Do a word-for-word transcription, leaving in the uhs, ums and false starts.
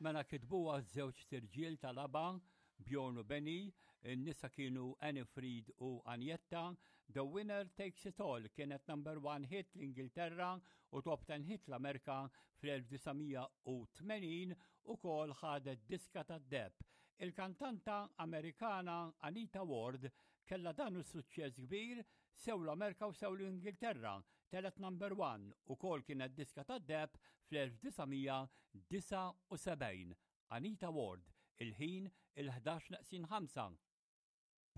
Mela kitbuha żewġt irġiel tal-ABBA, Bjorn u Benny, in-nisa kienu Anni-Frid u Agnetha. The Winner Takes It All kienet number one hit l-Ingilterra u top ten hit l-Amerika fl-elf disa' mija u tmenin u kol ħadet diska tad-deheb. Il-kantanta Amerikana Anita Ward kella dan is-suċċess kbir sew l-Amerika u sew l-Ingilterra, telgħet number one u kol kienet diska tad-deheb fl-elf disa' mija disgħa u sebgħin. Anita Ward, il-ħin il-ħdax neqsin ħamsa.